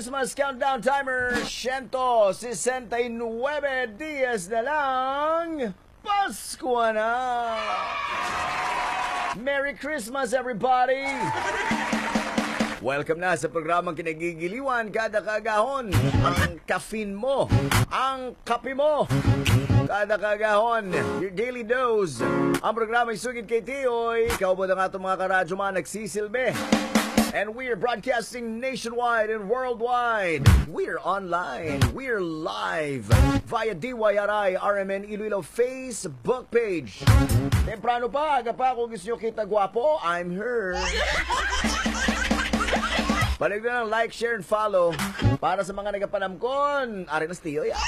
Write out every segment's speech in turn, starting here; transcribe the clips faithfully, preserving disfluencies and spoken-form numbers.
Christmas Countdown Timer, siyento sesenta y nuebe dias na lang, Pasko na! Merry Christmas, everybody! Welcome na sa programang kinagigiliwan kada kaagahon. Ang caffeine mo, ang kape mo, kada kaagahon. Your daily dose. Ang programa Isugid kay Tiyoy. Kaubod ang atong mga karadyo, mga nagsisilbi. And we are broadcasting nationwide and worldwide. We are online. We are live via D Y R I R M N Iloilo Facebook page. Temprano pa, aga pa, kung gusto nyo kita gwapo, I'm here. Balik na lang, like, share, and follow. Para sa mga nagapanamkon, ari na si Tiyoy, ah.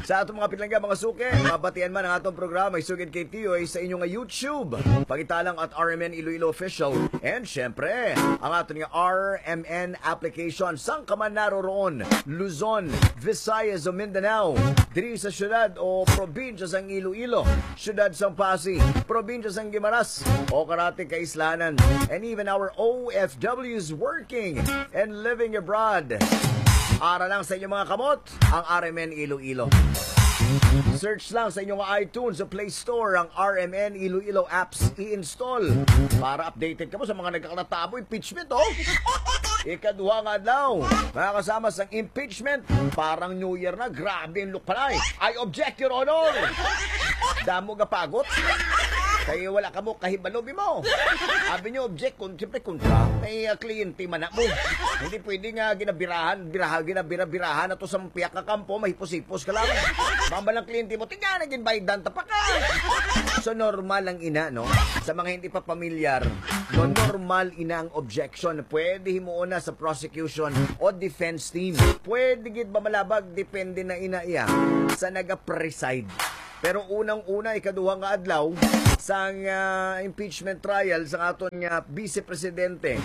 Sa atong mga pinangga, mga suki, mabatian man ang atong programa, Isugid kay Tiyoy, sa inyo nga YouTube. Pangitalang at R M N Iloilo Official. And syempre, ang aton nga R M N application. Sang ka man naroroon, Luzon, Visayas o Mindanao, diri sa syudad o probinsya sang Iloilo, syudad sang Passi, probinsya sang Guimaras, o karati kaislanan, and even our O F Ws working and living abroad. Ara lang sa inyong mga kamot ang R M N Iloilo. Search lang sa inyong iTunes o Play Store ang R M N Iloilo apps, i-install para updated kamo sa mga nagkakatabo impeachment, oh. Ikaduha nga adlaw, mga kasama, sang impeachment. Parang New Year na, grabe ang lukpanay. I object, Your Honor. Damo ga pagot. Kay wala kamo kahibalo, bimo. Abi nyo, object, kun, siyempre, kontra. May, ah, kliyente man na mo. Hindi pwede nga ginabirahan, biraha, ginabira-birahan ato sa piyak nga kampo, mahipos-hipos ka lang. Mamba lang kliyente mo, tiga na ginbaydan, tapaka. So, normal lang ina, no? Sa mga hindi pa pamilyar, no, normal ina ang objection. Pwede himuon na sa prosecution o defense team. Pwede gid ba malabag? Depende na ina iya sa naga-preside. Pero unang-una, ikaduha nga adlaw sang, ah, impeachment trial sa aton nga Vice Presidente,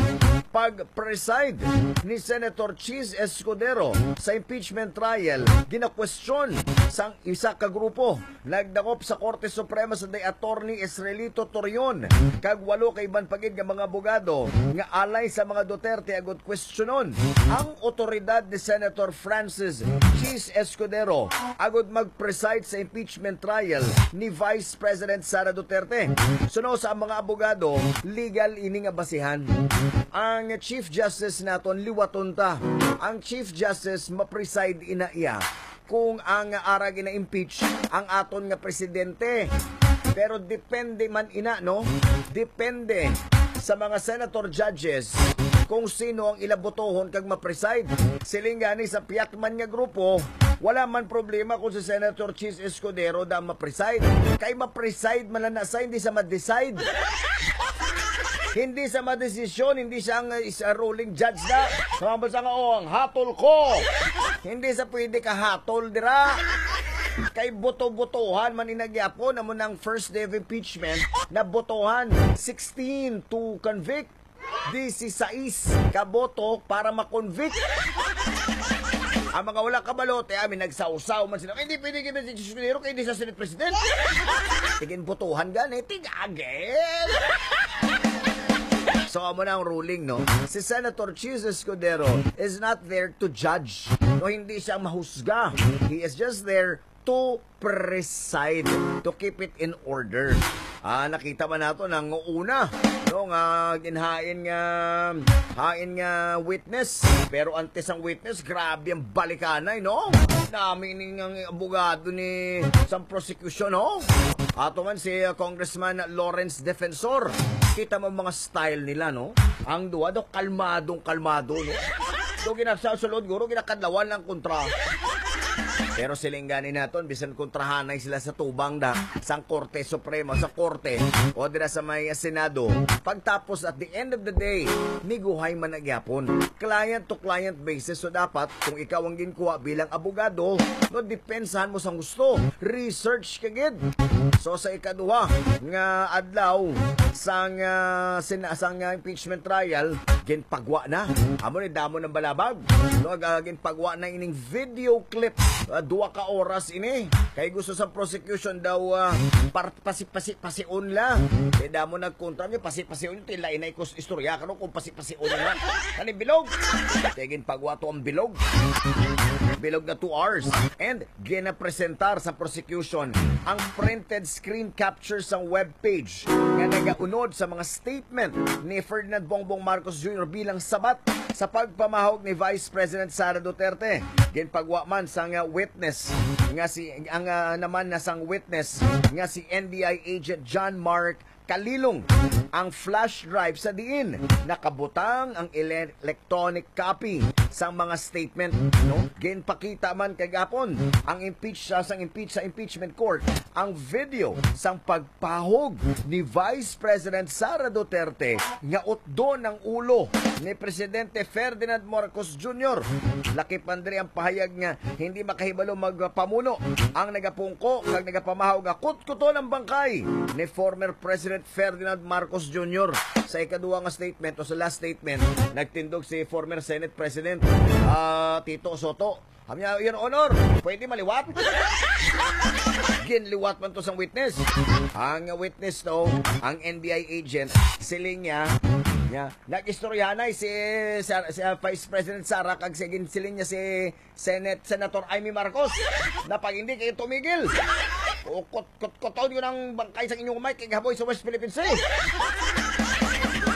pag-preside ni Senator Chiz Escudero sa impeachment trial, ginakwestiyon sang isa ka grupo. Nagdakop sa Korte Suprema sa day Attorney Israelito Torion kag walo ka iban pa gid nga mga abogado nga alay sa mga Duterte agud kwestiyonon ang otoridad ni Senator Francis Chiz Escudero agud mag-preside sa impeachment trial ni Vice President Sara Duterte. Suno sa mga abogado, legal ini nga basihan. Ang Chief Justice naton, liwaton ta. Ang Chief Justice ma-preside ina iya kung ang ara gina-impeach ang aton nga presidente. Pero depende man ina, no? Depende sa mga senator judges kung sino ang ila botohon kag ma-preside. Siling gani sa piyak man nga grupo, wala man problema kung si Senator Chiz Escudero da ma-preside. Kay ma-preside man lang na sa, hindi sa ma-decide. Hindi sa madesisyon, hindi siya ang, uh, is a ruling judge na. Mga basa nga, "Oh, ang hatol ko." Hindi sa pwede ka hatol dira. Kay boto-botohan man inagyapon, amo nang first day of impeachment, na botohan sixteen to convict, disisais ka boto para ma-convict. Ang mga wala kabalo, te, amin, nagsawsaw man sila. "Hindi pwede gid si Chiz Escudero kay hindi sa Senate President." Tigin botohan gani, tigagin. So, amo na ang ruling, no? Si Senator Chiz Escudero is not there to judge. No, hindi siya mahusga. He is just there to preside, to keep it in order. Ah, nakita man nato nang una, no, nga ginhain nga, hain nga witness. Pero antes ang witness, grabe ang balikanay, no? Nami ni nga abogado ni sang prosecution, no? Ato man si, uh, Congressman Lawrence Defensor. Kita mo mga style nila, no? Ang duha daw kalmadong kalmado, no? Do ginasa sa loob, guro, ginakadlawan lang kontra. Pero siling gani naton, bisan kontrahanay sila sa tubang da, sang Korte Suprema, sa Korte, o dira sa may Senado. Pagtapos, at the end of the day, miguhay man na gyapon. Client to client basis. So dapat, kung ikaw ang ginkuha bilang abogado, no, depensahan mo sang gusto. Research ka gid. So sa ikaduha nga adlaw, sang, ah, sin-, sang, ah, impeachment trial, ginpagwa na. Amo ni damo ng balabag. No, ag-, ah, ginpagwa na ining video clip. Ah, duha ka oras ini. Kay gusto sa prosecution daw, ah, par-, pasi-, pasi-, pasion la. Kay damo nagkontra niyo, pasi-, pasion niyo, tila inay ko s-, istorya karon kung pasi-, pasion na. Kani bilog. Kay ginpagwa to ang bilog. Bilog na two hours. And ginapresentar sa prosecution ang printed screen capture sang webpage nga nagaunod sa mga statement ni Ferdinand Bongbong Marcos Junior bilang sabat sa pagpamahog ni Vice President Sara Duterte. Ginpagwa man sang witness nga si, ang, ah, naman na sang witness nga si N B I agent John Mark Kalilong ang flash drive sa diin nakabutang ang ele-, electronic copy sang mga statement, no? Ginpakita man kagapon ang impeach, sa, sang impeach, sa impeachment court ang video sang pagpahog ni Vice President Sara Duterte nga utdon ang ulo ni Presidente Ferdinand Marcos Junior. Lakip man diri ang pahayag nga hindi makahibalo magpamuno ang nagapungko kag nagapamahog nga kutkuton ang bangkay ni former President Ferdinand Marcos Junior. Sa ikaduha nga statement o sa last statement, nagtindog si former Senate President, ah, Tito Soto. Sabi niya, "Your Honor, pwede maliwat?" Ginliwat man to sang witness. Ang witness to, ang N B I agent, siling niya, niya, nag-istoryahanay si, si, si, ah, Vice President Sara kag si, siling niya si Senate, Senator Imee Marcos. Na pag hindi kayo tumigil, ukot-, kutkuton ko ng bangkay sa inyong mic, kay haboy sa West Philippine Sea.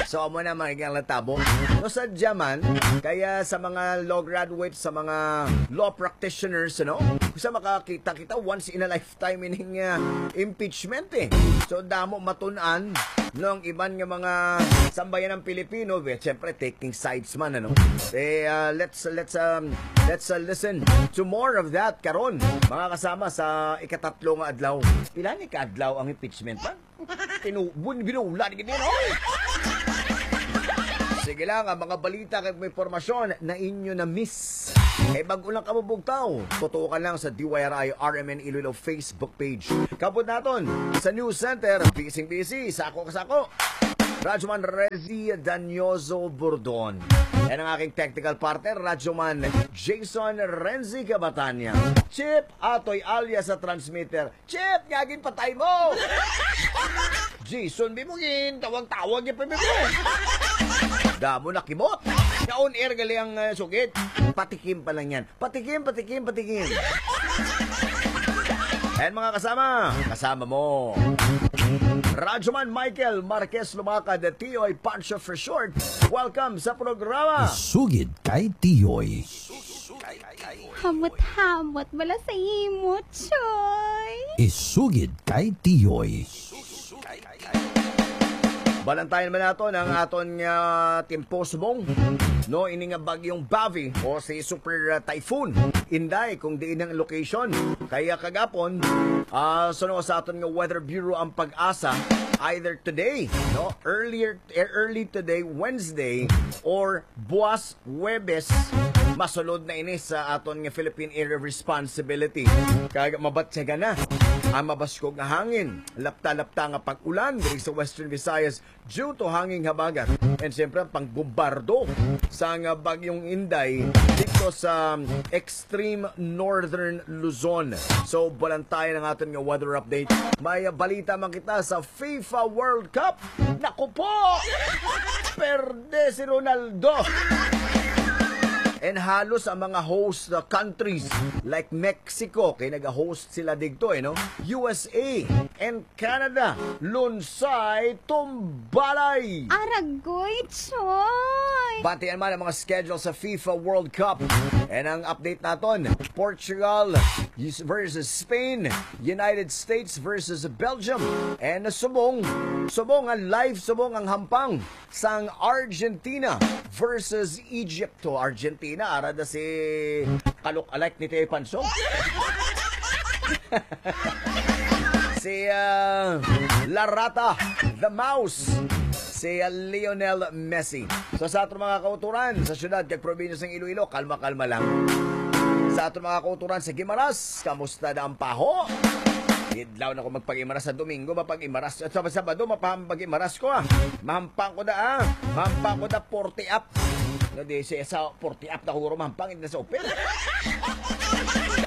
So, amo na mga iglang tabo. No, sadya man, kaya sa mga law graduates, sa mga law practitioners, ano, sa makakita kita once in a lifetime ining, ah, impeachment, eh. So, damo matun-an, no, ang iban nga mga sambayan ng Pilipino, eh, siyempre, taking sides man, ano. Eh, ah, let's, let's, um, let's, uh, listen to more of that karon, mga kasama, sa ikatatlo nga adlaw. Pila ni ka adlaw ang impeachment, man? Tinu-, bun-, binulan gid ni, no? Sige lang, ang mga balita kag mga impormasyon na inyo na-miss. Kay bag-o lang kamo bugtaw, tutukan lang sa D Y R I R M N Iloilo Facebook page. Kabot naton sa News Center, bising-busy, sako ka sako. Radyoman Rezi Danyoso Burdon. Yan ang aking technical partner, Radyoman Jason Renzi Cabatania. Chip Atoy alias sa transmitter. Chip, nga ginpatay mo! Jason, bi mo gin, tawag-tawag niya pa, bi mo. Damo na kimot. Nga on air gali ang, eh, sugid. Patikim pa lang yan. Patikim, patikim, patikim. And mga kasama, kasama mo. Radyoman Michael Marquez Lumakad, Tiyoy Pancho for short. Welcome sa programa. Isugid kay Tiyoy. Hamot-hamot bala sa imo, Choy. Isugid kay Tiyoy. Balantayan man naton ang aton nga timpo subong, no, ini nga bagyong Bavi o si Super, uh, Typhoon Inday, kung diin ang location. Kaya kagapon, ah, suno sa aton nga Weather Bureau ang pag-asa, either today, no, earlier, eh, early today, Wednesday, or buwas Huwebes, masulod na ini sa aton nga Philippine Area of Responsibility. Kag mabatyagan na ang mabaskog nga hangin, lapta-lapta nga pag-ulan diri sa Western Visayas due to hanging habagat. And siyempre, ang pangbombardo sa nga Bagyong Inday dito sa extreme northern Luzon. So, balantayan ang aton nga weather update. May balita man kita sa FIFA World Cup. Naku po! Perde si Ronaldo. And halos ang mga host, uh, countries like Mexico, kay nag-host sila digto, eh, no? U S A and Canada, lunsay tumbalay. Aragoy, Choy! Batian man ang mga schedule sa FIFA World Cup. And ang update naton, Portugal versus Spain, United States versus Belgium, and subong, subong ang live, subong ang hampang sang Argentina versus Egypt. To Argentina, ara da si ka-look-alike ni Teo Panso. Si, ah, Larata, the Mouse, si, ah, Lionel Messi. So, sa aton mga kauturan, sa syudad kag probinsya sang Iloilo, kalma-kalma lang. Sa aton mga kauturan sa Guimaras, kamusta na ang paho? Idlaw na ko magpag-imaras sa Domingo, mapag-imaras. At sa Sabado, mapag-imaras ko, ah. Mahampang ko na, ah. Mahampang ko na, forty up. No, di siya sa forty up na huro, mahampang, hindi na sa open.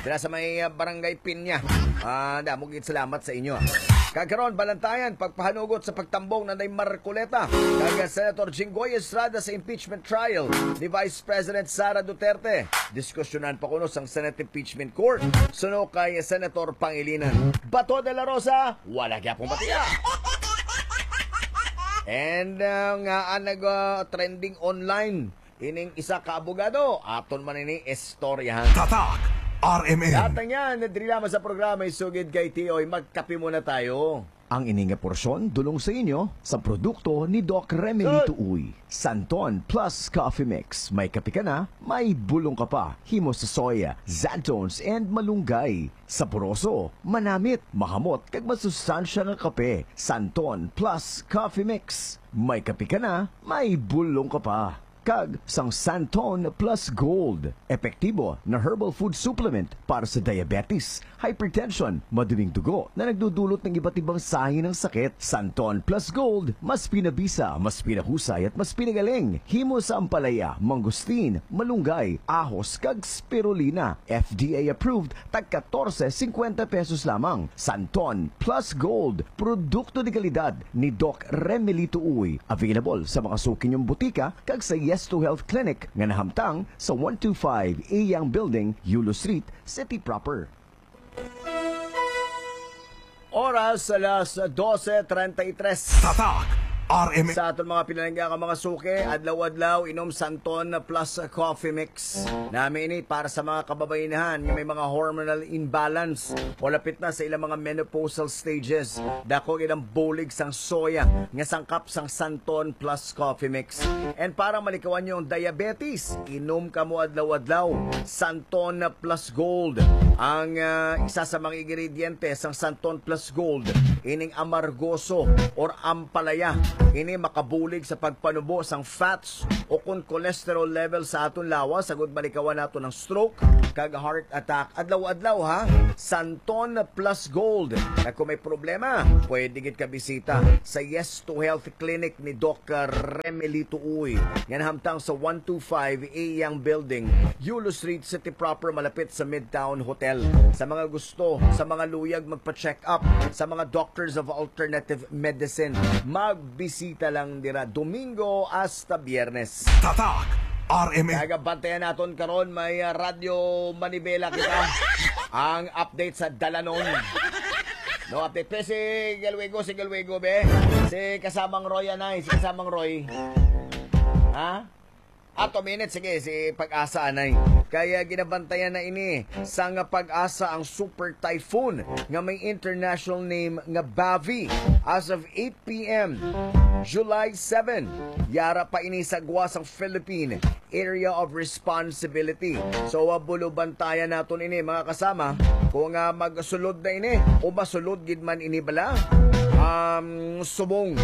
Dira sa may, ah, Barangay Pinya. Ah, damo gid salamat sa inyo, ah. Kag karon, Balantayan, pagpahanugot sa pagtambong na Nanay Marcoleta kag Senator Jinggoy Estrada sa impeachment trial ni Vice President Sara Duterte. Diskusyonan pa kuno sang Senate Impeachment Court suno kay Senator Pangilinan. Bato de la Rosa, wala gyapon batiya. And, uh, nga ang nag, uh, trending online ining isa ka abogado, aton man ini istoryahan. Tatak R M N. Datang yan, diri lamang sa programa Isugid kay Tiyoy. Magkape muna tayo. Ang ini nga porsyon dulong sa inyo sa produkto ni Doc Remilito Uy. Santon Plus Coffee Mix. May kape ka na, may bulong ka pa. Himo sa soya, xanthones, and malunggay. Saboroso, manamit, mahamot, kag masustansya nga kape. Santon Plus Coffee Mix. May kape ka na, may bulong ka pa. Kag sang Santon Plus Gold, epektibo na herbal food supplement para sa diabetes, hypertension, maduming dugo na nagdudulot ng iba't ibang sahi ng sakit. Santon Plus Gold, mas pinabisa, mas pinahusay at mas pinagaling. Himo sa ampalaya, mangosteen, malunggay, ahos kag spirulina. F D A approved, tag katorse singkwenta pesos lamang. Santon Plus Gold, produkto de kalidad ni Doc Remelito Uy. Available sa mga suki niyong butika kag sa Yes to Health Clinic nga nahamtang sa one two five Iyang Building, Yulo Street, City Proper. Oras alas dose treinta y tres. Tatak R M N. Sa aton mga pinalangga nga mga suki, adlaw-adlaw inom Santon Plus Coffee Mix. Nami ini para sa mga kababainahan nga may mga hormonal imbalance o lapit na sa ilang mga menopausal stages. Dako gid ang bulig sang soya nga sangkap sang Santon Plus Coffee Mix. And para malikawan niyo ang diabetes, inom kamo adlaw-adlaw Santon Plus Gold. Ang, ah, isa sa mga ingrediente sang Santon Plus Gold, ining amargoso or ampalaya. Ini makabulig sa pagpanubo sang fats o kon cholesterol level sa aton lawas, agud malikawan nato ng stroke kag heart attack. Adlaw-adlaw, ha, Santon Plus Gold. Kag kung may problema, pwede gid ka bisita sa Yes to Health Clinic ni Doc Remelito Uy. Yan hamtang sa one two five Iyang Building, Yulo Street, City Proper, malapit sa Midtown Hotel. Sa mga gusto, sa mga luyag magpa-check up, sa mga doctors of alternative medicine, magbisita lang dira Domingo hasta Biyernes. Tatak R M N. Kagabantayan naton karon may, ah, Radyo Manibela kita. Ang update sa dalanon. No update. Pe, si Galwego, si Galwego, be. Si kasamang Roy, anay. Si kasamang Roy. Ha? Ato minute, sige, si Pag-asa, anay. Kaya ginabantayan na ini sang Pag-asa ang super typhoon nga may international name nga Bavi. As of eight p m, July seven, yara pa ini sa gwa sang Philippine Area of Responsibility. So, uh, bulubantayan naton ini, mga kasama, kung, uh, magsulod na ini o masulod gid man ini bala, um, subong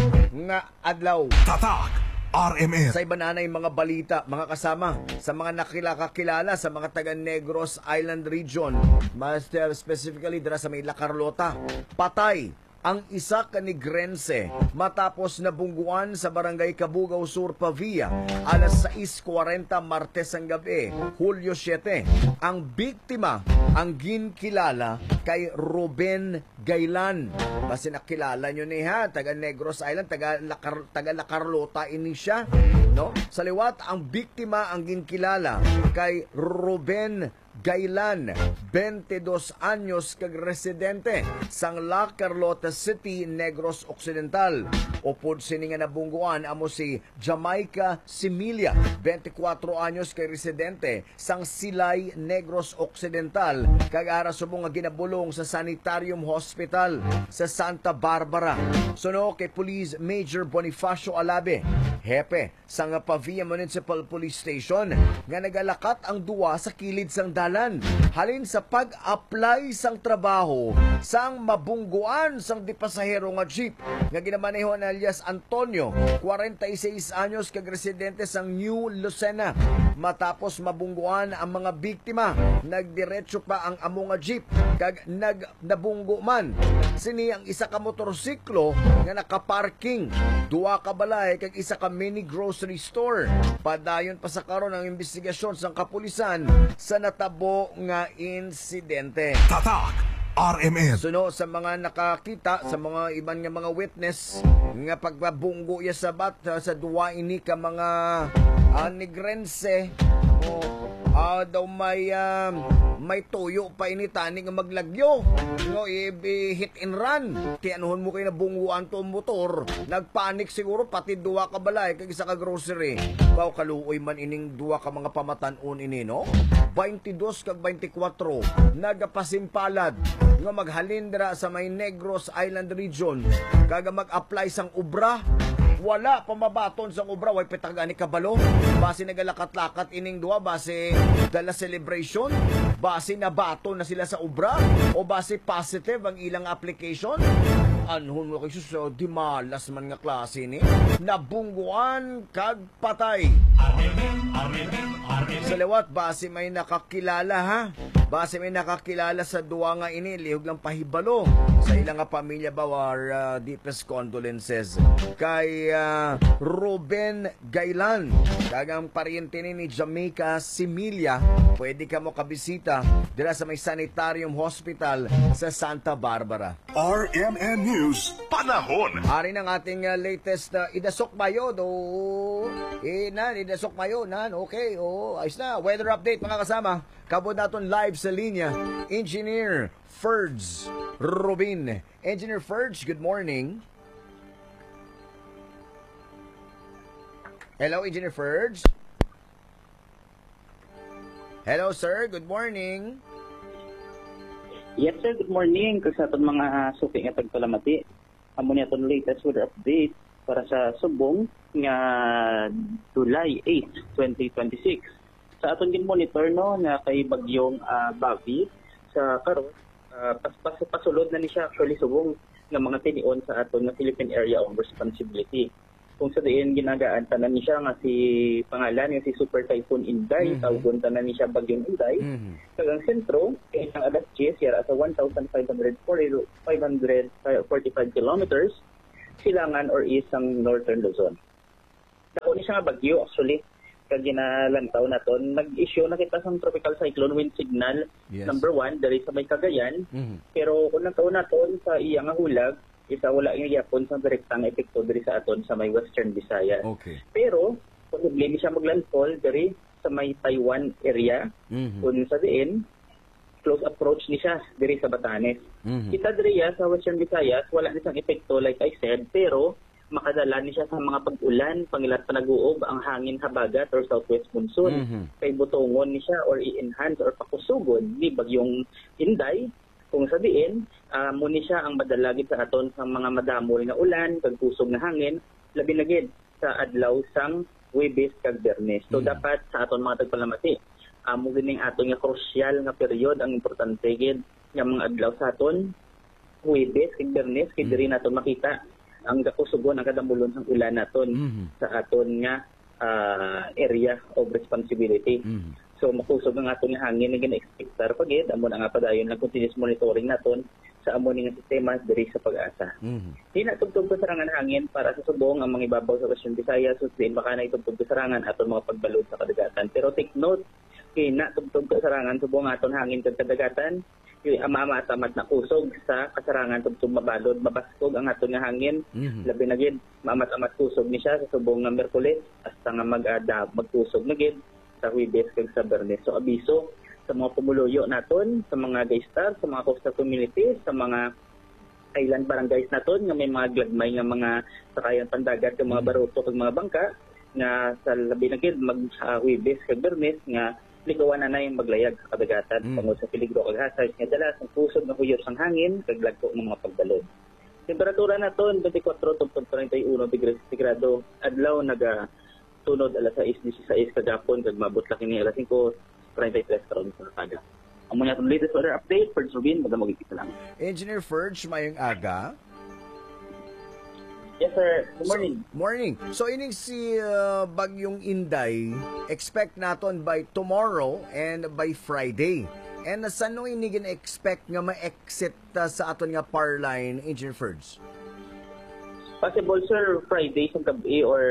nga adlaw. Tatak R M N. Sa iban anay mga balita, mga kasama, sa mga nakilakakilala sa mga taga Negros Island Region, mas, uh, specifically dira sa may La Carlota, patay ang isa ka Negrense matapos nabungguan sa Barangay Cabugao Sur, Pavia, alas sais kwarenta Martes ang gabi, Hulyo siete. Ang biktima ang ginkilala kay Ruben Gailan. Basi nakilala nyo ni, ha, taga Negros Island, taga La Car-, taga La Carlota ini siya, no? Sa liwat, ang biktima ang ginkilala kay Ruben Gailan, twenty-dos anyos, kag residente sang La Carlota City, Negros Occidental. Upod sini nga nabungguan amo si Jamaica Similia, twenty-kuwatro anyos, kay residente sang Silay, Negros Occidental, kag ara subong nga ginabulong sa Sanitarium Hospital sa Santa Barbara. Suno kay Police Major Bonifacio Alabe, hepe sang Pavia Municipal Police Station, nga nagalakat ang duwa sa kilid sang dalan. Halin sa pag-apply sang trabaho sang mabungguan sang di pasahero nga jeep nga ginamaneho ni alias Antonio, kwarenta y seis anyos, kag residente sang New Lucena. Matapos mabungguan ang mga biktima, nagdiretso pa ang amo nga jeep kag nag-, nabunggo man. Sini ang isa ka motorsiklo nga nakaparking, duha ka balay kag isa ka mini grocery store. Padayon pa sa karon ang investigasyon sang kapulisan sa natabo nga insidente. Tatak R M N. Suno sa mga nakakita, sa mga iban nga mga witness, nga pagpabunggo ya sa bat-, sa duwa ini ka mga, ah, Negrense, o, ah, daw may, ah, may tuyo pa ini tani nga maglagyo, no, i-, i-hit and run. Tianuhon mo kay nabungguan to ang motor, nagpanik siguro pati duwa ka balay kag isa ka grocery. Baw kaluoy man ining duwa ka mga pamatan-on ini, no? Twenty-dos kag twenty-kwatro, nagapasimpalad nga maghalin dira sa may Negros Island Region kag mag-apply sang obra. Wala pa mabaton sang obra, way pitag ani kabalo. Basi nagalakat-lakat ining duha, basi dala celebration, basi nabaton na sila sa obra, o basi positive ang ilang application. Anhon mo kay sus, oh, di malas man nga klase ni. Nabungguan kag patay. Sa liwat, basi may nakakilala, ha? Basi may nakakilala sa duwa nga ini, lihog lang pahibalo sa ila nga pamilya ba, our, uh, deepest condolences kay, uh, Ruben Gailan, kag ang paryente ni, ni Jamaica Similia. Pwede ka mo kabisita dira sa may Sanitarium Hospital sa Santa Barbara. R M N News, panahon. Ari ng ating, uh, latest, uh, idasok mayo do. Inan, idasok mayo nan. Okay, oh, ayos na. Weather update, mga kasama. Kabod naton live sa linya, Engineer Ferds Rubin. Engineer Ferds, good morning. Hello, Engineer Ferds. Hello, sir. Good morning. Yes, sir. Good morning. Kag sa aton mga suki nga pagpalamati, amo ni aton latest weather update para sa subong nga July eight, twenty twenty-six. Sa aton gin-monitor, no, nga kay bagyong, ah, Bavi sa karon, ah, pas, pas, pasulod na ni siya actually subong nga mga tinion sa aton nga Philippine Area of Responsibility. Kung sa diin ginagaan tanan ni siya nga si pangalan nga si Super Typhoon Inday, Mhm. tawgon tanan ni siya Bagyong Inday. Mhm. Kag ang sentro kay ang alas diyes yara sa one thousand five hundred forty, five hundred forty-five kilometers silangan or east sang Northern Luzon. Dako ni siya nga bagyo, actually. Kag ginalantaw naton, nag-issue na kita sang tropical cyclone wind signal Yes. number one diri sa may Cagayan. Mhm. Pero kung nagkaon naton sa iya nga hulag, isa wala gyapon sang direkta nga epekto diri sa aton sa may Western Visayas. Okay. Pero posible ni siya maglandfall diri sa may Taiwan area, Mhm. kung sa diin close approach ni siya diri sa Batanes. Mhm. Kita diri ya sa Western Visayas, wala ni sang epekto, like I said, pero makadala ni siya sa mga pag-ulan, pangilat pa nag-uob ang hangin habagat or southwest monsoon. Mhm. Kay butongon ni siya or i-enhance or pakusugon ni Bagyong Inday, kung sa diin, ah, mo ni siya ang madala gid sa aton sa mga madamol nga ulan kag kusog nga hangin, labi na gid sa adlaw sang Huwebes kag Biyernes. So, Mm. dapat sa aton mga tagpalamati, amo gid ning aton nga krusyal nga period, ang importante gid nga mga adlaw sa aton, Huwebes kag Biyernes, kay Mm. diri naton makita ang kakusugon, ang kadamulon sang ulan naton Mhm. sa aton nga, ah, area of responsibility. Mhm. So, makusog ang aton nga hangin nga gina-expectar pa gid, amo na nga padayon ang continuous monitoring naton sa amo ni nga sistema diri sa PAGASA. Mhm. Hinatubtob kasarangan hangin para sa subong ang mga ibabaw sa Western Visayas, sus diin baka na itubtob kasarangan aton mga pagbalod sa kadagatan. Pero take note, hinatubtob kasarangan subong aton hangin kag kadagatan, kay maamat-amat na kusog sa kasarangan tubtob mabalod, mabaskog ang aton nga hangin, Mhm. labi na gid maamat-amat kusog ni siya sa subong nga Miyerkules hasta nga mag-ada, magkusog na gid sa Huwebes kag sa Biyernes. So, abiso sa mga pumuluyo naton, sa mga gaistar, sa mga coastal communities, sa mga island barangays naton nga may mga gagmay nga mga sakayan pandagat, nga mga Mm. baruto kag mga bangka, nga sa labi na gid mag, ah, Huwebes kag Biyernes nga likawan na na ang maglayag sa kadagatan Mm. tungod sa peligro kag hazard nga dala sang kusog nga huyop sang hangin kag lagko nga mga pagbalod. Temperatura naton, twenty-four tubtob treinta y uno degrees sentigrado. Adlaw, naga tunod alas sais disisais kagapon kag maabot lang kini alas singko Private Restaurant sa Naga. Amo na atong latest weather update. First Rubin, madamo gid salamat. Engineer Ferge, mayong aga. Yes, sir. Good morning. Morning. So ining si uh, Bagyong Inday, expect naton by tomorrow and by Friday. And uh, sano ini gin-expect nga ma-exit uh, sa aton nga power line, Engineer Ferge? Possible, sir, Friday sa gabi or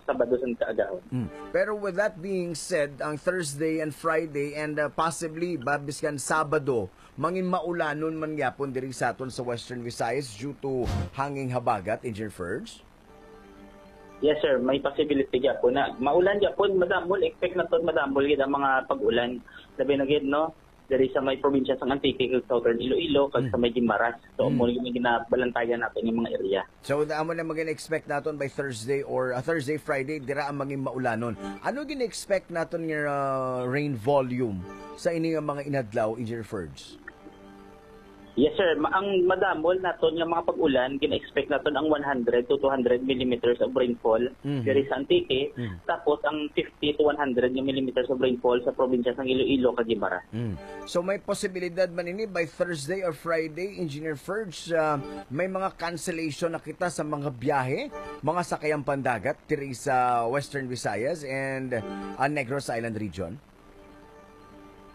Sabado sa kaagahon. Mm. Pero with that being said, ang Thursday and Friday and uh, possibly ba biskan Sabado, mangin maulanon man gyapon diri sa aton sa Western Visayas due to hanging habagat, Engineer Ferge? Yes, sir. May possibility gyapon na maulan gyapon, madamol. Expect naton madamol gid ang mga pag-ulan. Labi na gid, no? Diri sa may probinsya sang Antique, kag Southern Iloilo, kag sa may Guimaras. So, Mm. mo yung ginabalantayan natin yung mga area. So, amo na magin-expect naton by Thursday or uh, Thursday, Friday, dira ang mangin maulanon. Ano gin-expect naton nga uh, rain volume sa ini nga mga inadlaw, Engineer Ferge? Yes, sir. Ma- ang madamol naton nga mga pag-ulan, gina-expect naton ang one hundred to two hundred millimeters of rainfall Mhm. diri sa Antique. Mhm. Tapos ang fifty to one hundred nga millimeters of rainfall sa probinsya sang Iloilo, kag Guimaras. Mm. So may posibilidad man ini by Thursday or Friday, Engineer Ferge, uh, may mga cancellation na kita sa mga biyahe, mga sakayang pandagat diri sa Western Visayas and uh, Negros Island region?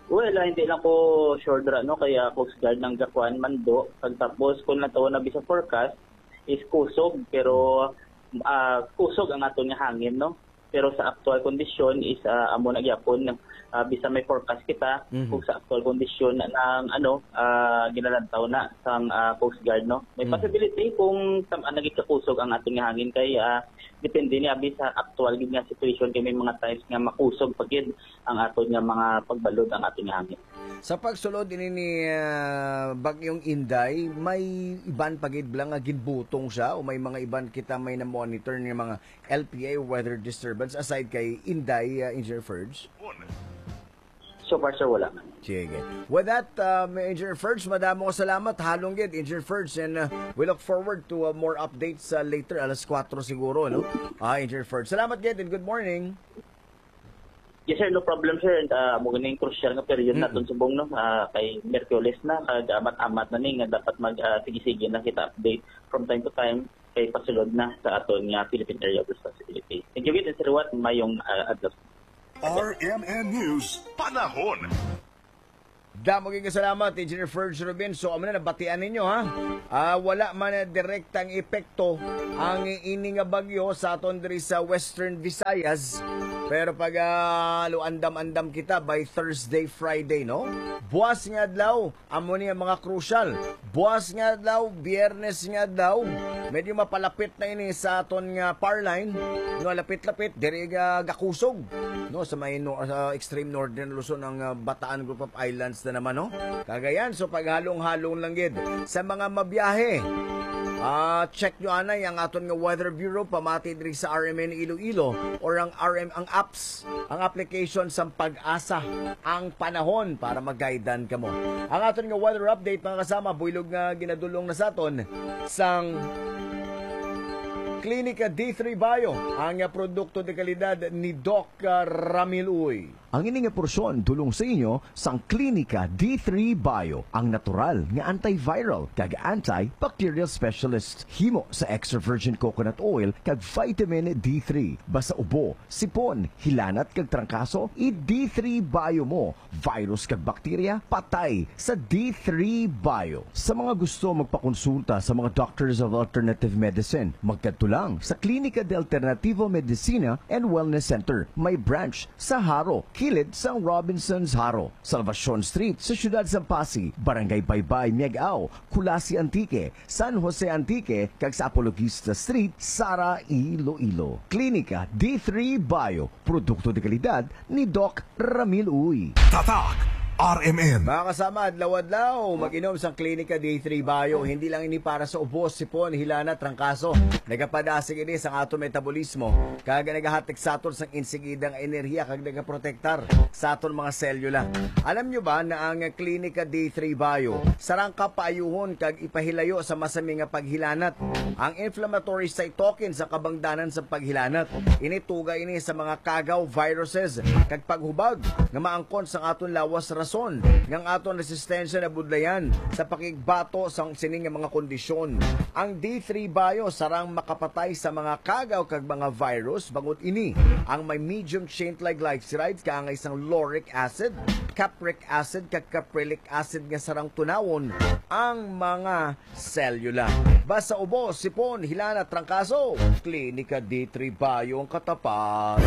Well, ah, hindi lang ko sure dira, no, kaya Coast Guard nang gakuan mando. Pagtapos, kung natawa na sa forecast, is kusog, pero ah, kusog ang aton nga hangin, no? Pero sa aktual kondisyon is ah, amo na gyapon, ah, bisan may forecast kita, Mhm. kung sa aktual kondisyon ng ano, ah, ginalantaw na sang ah, Coast Guard, no? May Mhm. possibility kung tam- ah, naging kakusog ang aton nga hangin kay ah, depende ni abi sa aktual gid nga situation kay may mga times nga makusog pa gid ang aton nga mga pagbalod ang aton nga hangin. Sa pagsulod ini ni ah, Bagyong Inday, may iban pa gid bala nga ginbutong siya o may mga iban kita may na-monitor nga mga L P A weather disturbance aside kay Inday, ah, Engineer Ferge? So far, sir, wala man. Sige. With that, uh, Engineer Ferge, madamo nga salamat. Halong gid, Engineer Ferge, and uh, we look forward to uh, more updates uh, later, alas kuwatro siguro, no? Ah, Engineer Ferge. Salamat gid and good morning. Yes, sir. No problem, sir. And uh, mo ganing crucial nga period Mm. naton subong, no? Ah, kay Miyerkules na, kag amat-amat na ni nga dapat mag ah, sige-sige na kita update from time to time kay pasulod na sa aton nga Philippine Area of Responsibility. Thank you, Gid, and Sir Wat. Mayong ah, adlaw. R M N News Panahon. Damo gid nga salamat, Engineer Ferge Rubin. So, amo na, nabatian ninyo, ha? Ah, wala man na direktang epekto ang ini nga bagyo sa aton diri sa Western Visayas. Pero pag ah, luandam-andam kita by Thursday, Friday, no? Buwas nga adlaw, amo ni ang mga crucial. Buwas nga adlaw, Biyernes nga adlaw, medyo mapalapit na ini sa aton nga power line. No, lapit-lapit, diri ga gakusog, no, sa may no, sa extreme northern Luzon ang ah, Bataan Group of Islands na naman, no? Cagayan, so paghalong-halong lang gid sa mga mabiyahe. Ah, check nyo anay ang aton nga Weather Bureau pamati diri sa R M N Iloilo or ang R M ang apps, ang application sa Pag-asa, ang panahon para mag-guidean kamo. Ang aton nga weather update, mga kasama, buylog nga ginadulong na sa aton sang Klinika D three Bio, ang nga produkto de kalidad ni Doc ah, Ramil Uy. Ang ini nga porsyon dulong sa inyo sang Klinika D three Bio, ang natural nga antiviral kag antibacterial specialist. Himo sa extra virgin coconut oil kag vitamin D three. Basta ubo, sipon, hilanat kag trangkaso, i-D three Bio mo. Virus kag bakterya, patay sa D three Bio. Sa mga gusto magpakonsulta sa mga Doctors of Alternative Medicine, magkadto lang sa Clínica de Alternativa Medicina and Wellness Center. May branch sa Jaro, kilid sang Robinsons Jaro, Salvacion Street sa siyudad sang Passi, Barangay Baybay, Miag-ao, Culasi, Antique, San Jose, Antique, kag sa Apologista Street, Sara, Iloilo. Klinika D three Bio, produkto de kalidad ni Doc Ramil Uy. Tatak R M N. Mga kasama, adlaw-adlaw, mag-inom sang Klinika D three Bio. Hindi lang ini para sa ubo, sipon, hilana, trangkaso. Nagapadasig ini sa ato metabolismo, kag nagahatag sa aton sang insigida nga enerhiya, kag nagaprotektar sa aton mga selula. Alam nyo ba na ang Klinika D three Bio sarang ka paayuhon kag ipahilayo sa masami nga paghilanat ang inflammatory cytokine sa kabangdanan sa paghilanat? Ini tuga ini sa mga kagaw, viruses, kag paghubag nga maangkon sang aton lawas, rason nga ang aton resistensya nabudlayan sa pakigbato sang sini nga mga kondisyon. Ang D three Bio sarang makapatay sa mga kagaw kag mga virus, bangod ini ang may medium chain triglycerides, kaangay sang lauric acid, capric acid, kag caprylic acid nga sarang tunawon ang mga selula. Basta ubo, sipon, hilana, trangkaso, Klinika D three Bio ang katapat.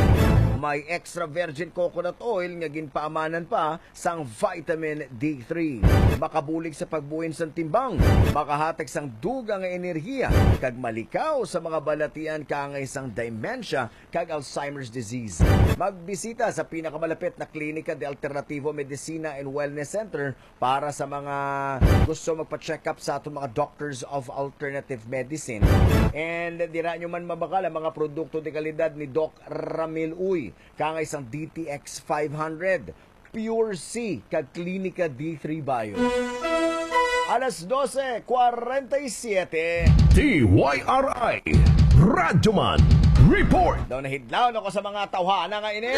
May extra virgin coconut oil nga ginpaamanan pa sang vitamin D three. Makabulig sa pagbuhin sang timbang, makahatag sang dugang nga enerhiya, kag malikaw sa mga balatian kaangay sang dementia kag Alzheimer's disease. Magbisita sa pinakamalapit na klinika de Alternativo Medicina and Wellness Center para sa mga gusto magpa-check up sa aton mga doctors of alternative medicine. And dira nyo man mabakal ang mga produkto de kalidad ni Doc Ramil Uy, kangay sang D T X five hundred, Pure C, kag Klinika D three Bio. Alas dose kwarenta y siyete. D Y R I Radyoman Report. Daw nahidlaw na ko sa mga tawhana nga ini.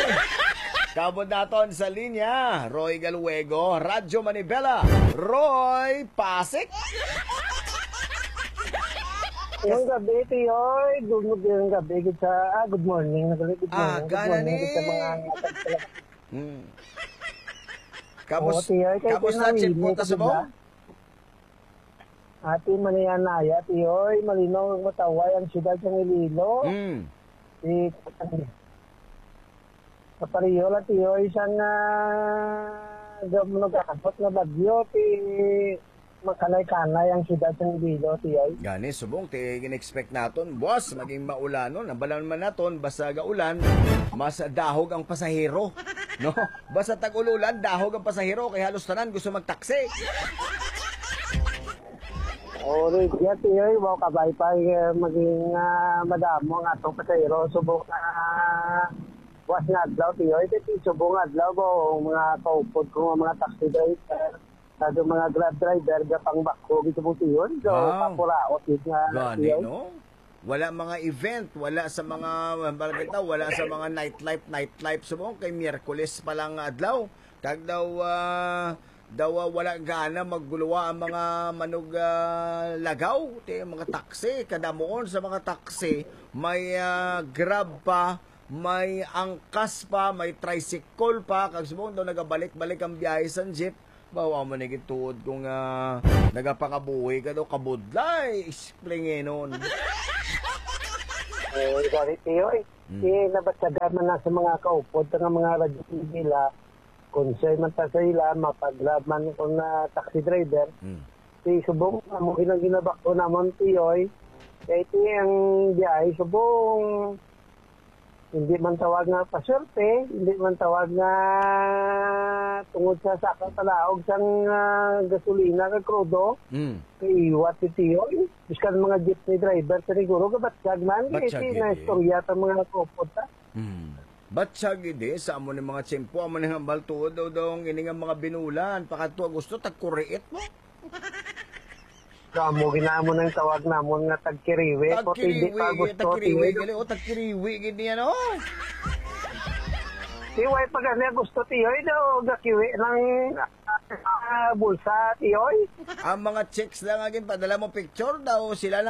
Kabod naton sa linya, Roy Galuego, Radyo Manibela. Roy, pasik! Ngayong gabi, Tiyoy. Good, good, ngayong gabi. Good sa, ah, good morning. Good morning. Ah, good morning, ni. Good sa mga Hmm. Kamus-, Oo, Tiyoy, kay kamusta ang Chinpon ta Subong? Ate, manianaya, Tiyoy, malinaw ang mataway ang siyudad sa Iloilo. Hmm. Si, sa pareho lang, Tiyoy, isang, ah, gam-, nagkakapot nga bagyo, ti, makanay-kanay ang siyudad sa Iloilo, Tiyoy. Gani, subong, ti, gin-expect naton, buwas, maging maulanon. Ang balan man naton, basta gaulan, mas dahog ang pasahero. No? Basta tag-ulan, dahog ang pasahero, kay halos tanan gusto magtaksi. Oh, Ray, yan, Tiyoy, wow, kabay pa, eh, maging, ah, madamo ang atong pasahero. Subong, ah, buwas nga adlaw, Tiyoy, kay subong adlaw, ba, ang mga kaupod ko, mga taxi driver. Sa mga Grab driver, gapangbakho gid sa Butiyon. So, wow, papuraot gid nga gani, siya, no? Wala mga event, wala sa mga, barangay tao, wala sa mga nightlife, nightlife. So, kay Miyerkules pa lang nga adlaw. Kag daw, ah, daw, ah, wala gana magguluwa ang mga manog, ah, lagaw. Ti, mga taxi, kadamuon sa mga taxi, may, ah, Grab pa, may angkas pa, may tricycle pa, kag subong daw nagabalik-balik ang biyahe sa jeep. Bawa mo na gituod kung, ah, nagapangabuhi ka daw, kabudlay, isplingenon. Eh, gani, Tiyoy. Hmm. Eh, nabatyagan man na sa mga kaupod, sa mga radyo nila, kung siya man ta sa ila, mapag-Grab man kung na taxi driver. Hmm. Si subong, amo ginang ginabakho namon, Tiyoy. Kay ti ang biyahe, subong, hindi man tawag nga paswerte, hindi man tawag nga tungod sa saka palaog sang, ah, gasolina kag krudo. Mm. Kaiwat si Tiyoy. Biskan mga jeepney driver, siguro gabatyag man. Batyag, eh, na istorya ta mga kaupod ta. Mm. Batyag, idi, sa amo ni mga tiyempo, amo ni hambal tuod daw, daw, ang ini nga mga binulan, pakadto Agosto, tagkuriit mo. Kamo, ginamo nang tawag namon nga tagkiriwi. Kung hindi pa Tagkiriwi, gusto, tagkiriwi, tiyo. Gali, o, tagkiriwi, gid niya, no? Tiway pa gani gusto, tiyoy, daw gakiwi ng, ah, bulsa, tiyoy. Ang mga chicks lang nga ginpadala mo picture daw, sila lang